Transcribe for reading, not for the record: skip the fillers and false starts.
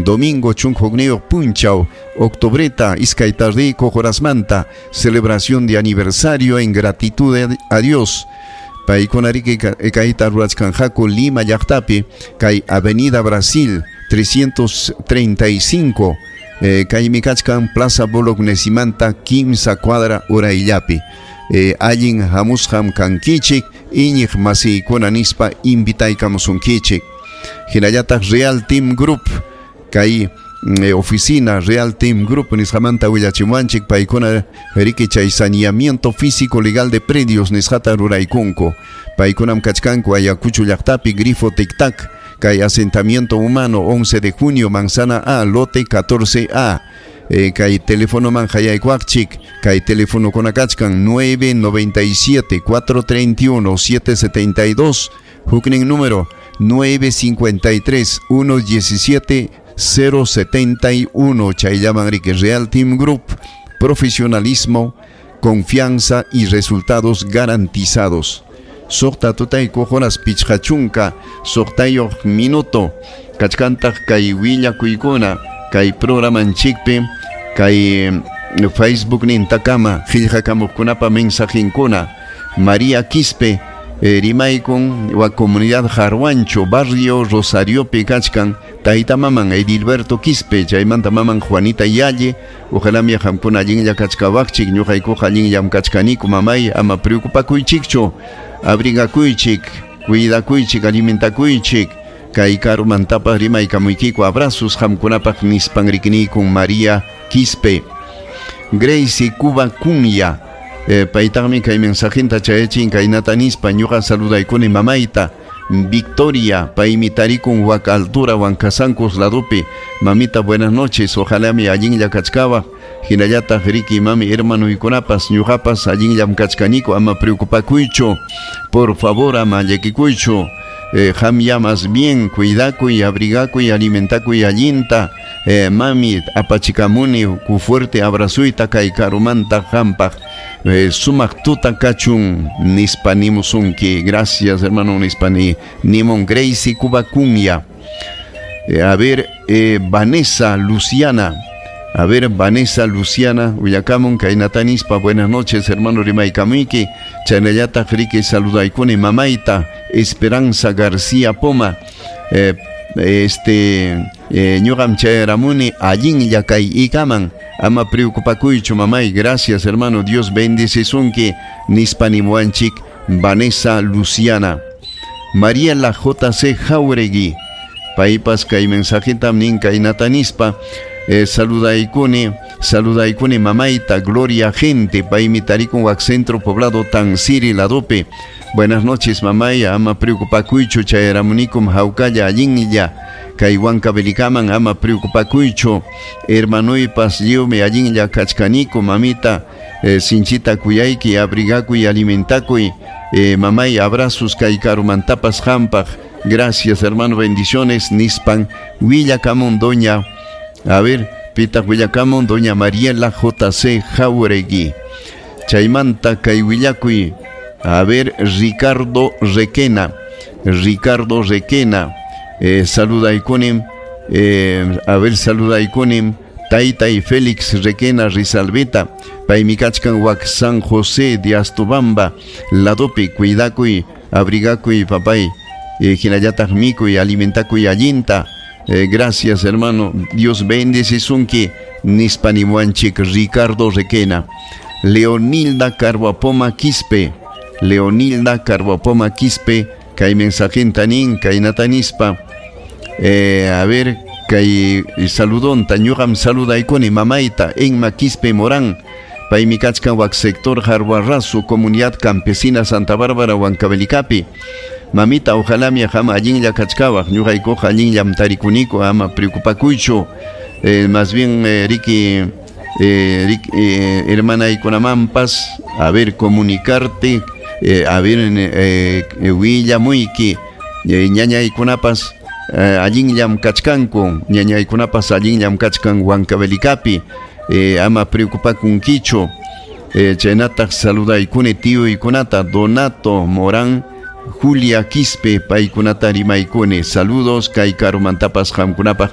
Domingo 11 punchaw octubreta iskay tardeykuq horasmanta, celebración de aniversario en gratitud a Dios. Paykuna riki kayta rurachkanqaku Lima llaqtapi, kay Avenida Brasil 335, kaymi kachkan Plaza Bolognesimanta 3 cuadra urayllapi. Allin hamusqam kankichik iñiq masiykuna nispa invitaykamusunkichik. Hinallataq Real Team Group, kay oficina Real Team Group nisqamanta willachimuwanchik, paykuna riki chay saneamiento físico legal de predios nisqata ruraykunku. Paykunam kachkanku Ayacucho llaqtapi, Grifo Tic Tac, kay asentamiento humano 11 de junio, Manzana A, lote 14A. Kay teléfono man hayaykuwaqchik, kay teléfono kachkan 997 431 772, huknin número 953 117 071. Chayllaman riki. Real Team Group, profesionalismo, confianza y resultados garantizados. 6 tutaykuq horas 56 minuto. Kachkantaq kay willakuykuna kay programanchikpi, kay Facebook nintakama qillqakamuqkunapa mensajinkuna. María Quispe rimaykun wa comunidad Jarwancho, barrio Rosariopi kachkan, tayta maman Edilberto Quispe, chaymanta maman Juanita Yalle. Ojalá mi qamkuna allinlla kachkawaqchik, ñuqaykuqa allinllam kachkaniku, mamay, ama preocupakuychikchu, abrigakuychik, cuidakuychik, alimentakuychik. Kay karumantapas rimaykamuykiku, abrazos qamkunapaq nispan rikinikun María Quispe. Gracie Cuba Cunya, paytaqmi kay mensajinta chayachin kaynata nispa: ñuqa saludaykuni mamayta Victoria, paymi tarikun wak altura Huancasancos ladupi. Mamita, buenas noches, ojalá mi allinlla kachkawaq, hinallataq riki mami hermanuykunapas, ñuqapas allinllam kachkaniku, ama preocupakuychu, por favor, ama llakikuychu. Qamya más bien cuidakuy, abrigakuy, alimentakuy allinta. Mami, apachikamuni ku fuerte abrazuyta kay karumanta qampaq. Sumaq tuta kachun nispa nimusunki. Gracias, hermano, nispa nimun Gracie Cuba Cunya. A ver, Vanessa Luciana. A ver, Vanessa Luciana, willakamun kaynata nispa: buenas noches, hermano, rimaykamuyki, chaynallataq riki saludaykuni mamayta Esperanza García Poma. Ñuqam chayaramuni allinlla kay ikaman, ama preocupakuychu, mamay, gracias, hermano, Dios bendecisunki nispa nimuwanchik Vanessa Luciana. Mariela JC Jauregui, paypas kay mensajitam nin kaynata nispa: saludaykuni mamayta Gloria Gente, paymi tarikun wak centro poblado Tansiri ladopi. Buenas noches, mamay, ama preocupakuychu, chayaramunikum hawkalla allinlla kay Huancavelicaman, ama preocupakuychu, hermanuypas lliwmi allinlla kachkaniku, mamita, sinchita kuyayki, abrigakuy, alimentakuy, mamay, abrazos kay karumantapas qampaq, gracias, hermano, bendiciones nispan willakamun doña, a ver, pitaq willakamun, doña Mariela JC Jauregui. Chaymanta kay willakuy, a ver, Ricardo Requena, Ricardo Requena, saludaykunim, a ver, saludaykunim taytay Félix Requena Rizalbeta, paymi kachkan wak San José de Astubamba ladopi. Cuidakuy, abrigakuy, papay, hinallataq mikuy, alimentakuy allinta. Gracias, hermano, Dios bendecisunki nispa nimuwanchik Ricardo Requena. Leonilda Carvapoma Quispe, Leonilda Carvapoma Quispe, kay mensajinta nin kaynata nispa, a ver, kay saludonta: ñuqam saludaykuni mamayta Enma Quispe Morán, paymi kachkan wak sector Jarbarrazo, comunidad campesina Santa Bárbara, Huancavelicapi. Mamita, ojalá mi qam allinlla kachkawaq, ñuqaykuqa allinllam tarikuniku, ama preocupakuychu. Más bien, riki, hermanaykunamanpas, a ver, comunicarte, a ver, willamuyki, ñañaykunapas allinllam kachkanku, ñañaykunapas allinllam kachkan Huancavelicapi, ama preocupakunkichu. Chaynataq saludaykuni tiyuykunata Donato Morán, Julia Quispe, paykunata rimaykuni, saludos kay karumantapas qamkunapaq.